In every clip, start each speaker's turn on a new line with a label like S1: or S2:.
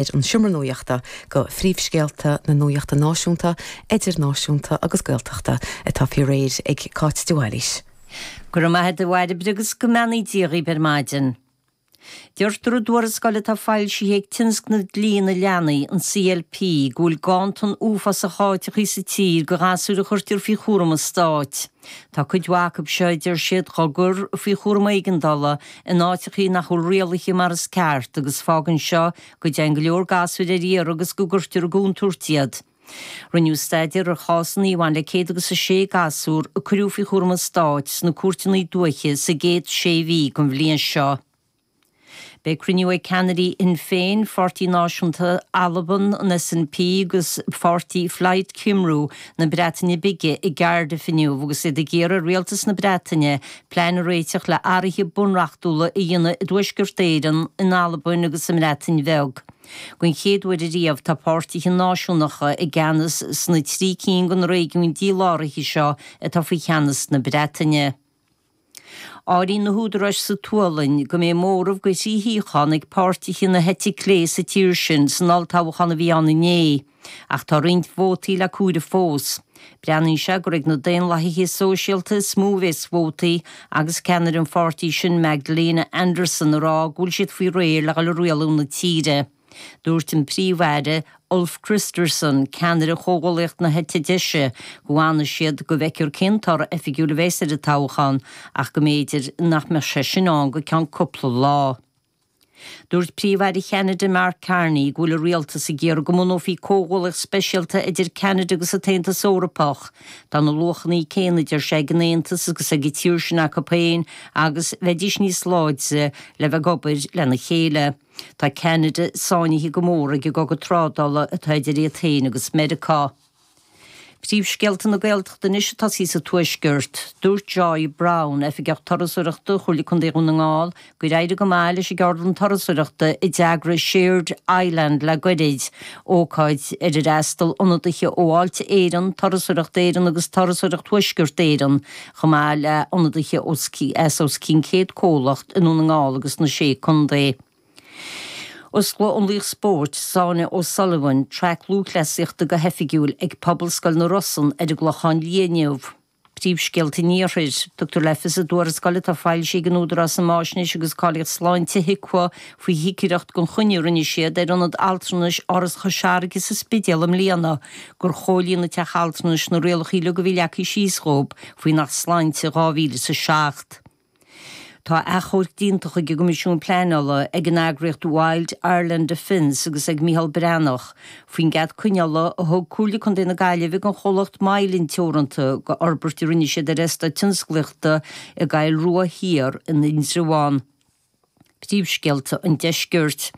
S1: An Seomra Nuachta go phríomhscéalta na nuachta náisiúnta, idirnáisiúnta agus Gaeltachta atá faoi réir ag Cáit de Bhailís.
S2: Go raibh maith agat a Bhairbre agus go mbeannaí Dia dhaoibh ar maidin. Deirtear i dtuarascáil atá foilsithe ag Tionscnamh Dlí na Leanaí, an CLP, go bhfuil ganntan uafásach áiteachaí sa tír go ghasúir a chuirtear faoi chúram an stáit. Tá cuid mhaith acu seo, a deir siad, dhá gcur faoi chúram éigeandála in áiteachaí nach bhfuil rialaithe mar is ceart agus fágann seo go dtéann go leor gasúir ar iarraidh agus go gcuirtear i gcontúirt iad. Rinneadh staidéar ar chásanna a bhain le 106 gasúr a cuireadh faoi chúram an stáit sna cúirteanna dúiche sa gcéad sé mhí den bhliain seo. Beidh cruinniú ag ceannairí Shinn Féin, Pháirtí Náisiúnta Alban, an SNP agus pháirtí Phlaid Cymru na Breataine Bige i gCardiff inniu agus iad ag iarraidh ar Rialtas na Breataine plean a réiteach le athruithe bunreachtúla a dhéanamh i dTuaisceart Éireann, in Albain agus sa mBreatain Bheag. Den chéad uair ariamh tá páirtithe náisiúnacha i gceannas sna trí cinn de na réigiúin díláraithe seo atá faoi cheannas na Breataine. Áiríonn na húdaráis sa tSualainn go mbeidh móramh de thrí shuíochán ag páirtithe na heite clé sa tír sin san olltoghchán a bhí ann inné, ach tá roinnt vótaí le comhaireamh fós. Breathnaíonn sé gur ag na Daonlathaithe Sóisialta is mó a bheas vótaí agus ceannaire an pháirtí sin Magdalena Andersson ag rá go bhfuil siad faoi réir le dhul ag rialú na tíre. Dúirt an Príomh-Aire, Ulf Kristersson, ceannaire Chomhghuallaíocht na heite deise, go bhfanfaidh siad go bhfeicfear cén toradh oifigiúil a bheas ar an toghchán ach go mb'fhéidir nach mbeadh sé sin ann go ceann cúpla lá. Dúirt Príomh-Aire Cheanada Mark Carney go bhfuil a rialtas ag iarraidh go mbunófaí comhghuallaíocht speisialta idir Ceanada agus an tAontas Eorpach. Tá na luachanna céanna, a deir sé, ag an Aontas agus ag an tír sin acu féin agus bheidís níos láidre le bheith ag obair lena chéile. Tá Ceanada sáinnithe go mór ag an gcogadh trádála atá idir iad féin agus Meiriceá. Príomhscéalta na Gaeltachta anois ag tosaí sa Tuaisceart. Dúirt Joy Browne, Oifigeach Turasóireachta Chomhairle Contae Dhún na nGall, gur éirigh go maith leis an gceardlann turasóireachta a d'eagraigh Shared Island le goirid, ócáid ar ar fhreastail ionadaithe ó Fháilte Éireann, Turasóireacht Éireann agus Turasóireacht Thuaisceart Éireann, chomh maith le hionadaithe as os cionn 100 comhlacht i nDún na nGall agus sna Sé Contae. Osclóidh an laoch spóirt, Sonia O'Sullivan, traic lúthchleasaíochta go hoifigiúil ag Pobalscoil na Rosann ar an gClochán Liath inniu. Príomhscéalta an Iarthair. Tugtar le fios i dtuarascáil atá foilsithe ag an Údarás um Fháisnéis agus Cáilíocht Sláinte, HIQA, faoi chigireacht gan choinne a rinne siad ar Ionad Altranais Áras Chois Fharraige sa Spidéal i mbliana gur chomhlíon an teach altranais na rialacha uilig a bhí leagtha síos dhóibh faoin Acht Sláinte 2007. Tá achomharc déanta chuig an gCoimisiún Pleanála ag an eagraíocht Wild Ireland Defence agus ag Micheál Breathnach faoin gcead coinneála a thug Comhairle Contae na Gaillimhe don chomhlacht Mylan Teoranta do fhorbairt a rinne siad ar eastát tionsclaíochta i gCaill Rua Thiar in Indreabhán. Príomhscéalta an Deiscirt.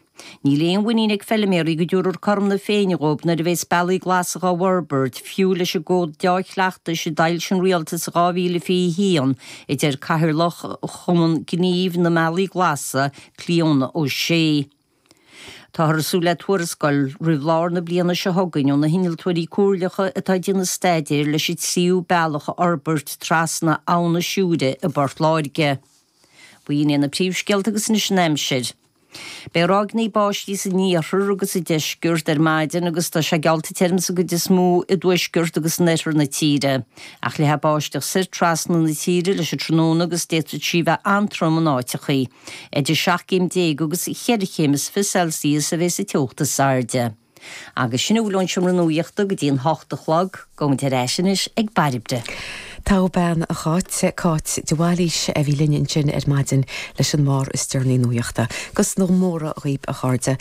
S2: Níl aon mhuinín ag feiliméaraí go dtabharfar cothrom na Féinne dhóibh nuair a bheas bealaí glasa dhá bhforbairt, fiú leis an gcód deá-chleachtais a d'fhoilsigh an Rialtas i 2021, a deir Cathaoirleach Chumann Gnímh na mBealaí Glasa, Clíona O'Shea. Táthar ag súil le tuarascáil roimh lár na bliana seo chugainn ó na hinnealtóirí comhairleacha atá ag déanamh staidéir leis an tríú bealach a fhorbairt trasna Abhainn na Siúire i bPort Láirge. B'in iad na príomhscéalta agus anois an aimsir. Beidh ráigeanna báistí san iarthar agus sa deisceart ar maidin agus tá sé geallta tirim sa gcuid is mó i dtuaisceart agus in oirthear na tíre. Ach leathfaidh báisteach soir trasna na tíre leis an tráthnóna agus d'fhéadfadh sí bheith an-trom in áiteachaí. Idir 17 céim agus cheithre chéim is 20 Celsius a bheas an teocht is airde. Agus sin a bhfuil ón Seomra Nuachta go dtí an hocht a chlog. Gabhaimid ar ais anois ag Bairbre.
S1: Togha bean a Cháit, Cáit de Bhailís a bhí linn ansin ar maidin leis an mbarr is deireanaí nuachta. Agus na móra dhaoib a chairde,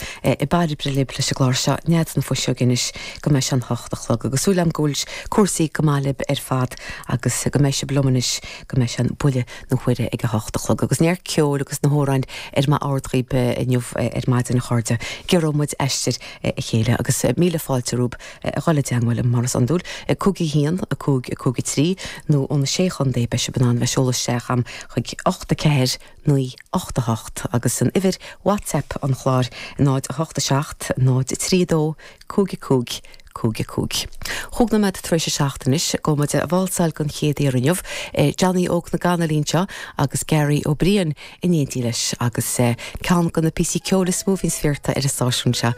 S1: Bairbre libh leis an gclár seo Nead na Fuiseoige anois go mbeidh sé an hocht a chlog agus súil agam go bhfuil cúrsaí go maith libh ar fad agus go mbeidh sibh liom anois go mbeidh sé an buille na huaire ag a hocht a chlog agus neart ceoil agus na hamhráin ar m'ord dhaoib inniu ar maidin a chairde. Giorróidh muid aistear a chéile agus míle fáilte romhaibh a dhul i dteangmháil liom mar is iondúil, 5 1 5 5 3 nó ó na Sé Chontae beidh sibh in ann bheith seoladh isteach a'm chuig 8 4 9 8 8 agus an uimhir WhatsApp an chláir 0 8 7 0 3 2 5 5. 5 5. Chúig nóiméad tar éis a 7 anois, gabhfaidh muid a válsáil don chéad uair inniu. Johnny Óg na gCanna linn anseo agus Gary Ó Briain in éindí leis agus ceann de na píosaí ceoil is mó a bhíonn sféarta ar an stáisiún seo.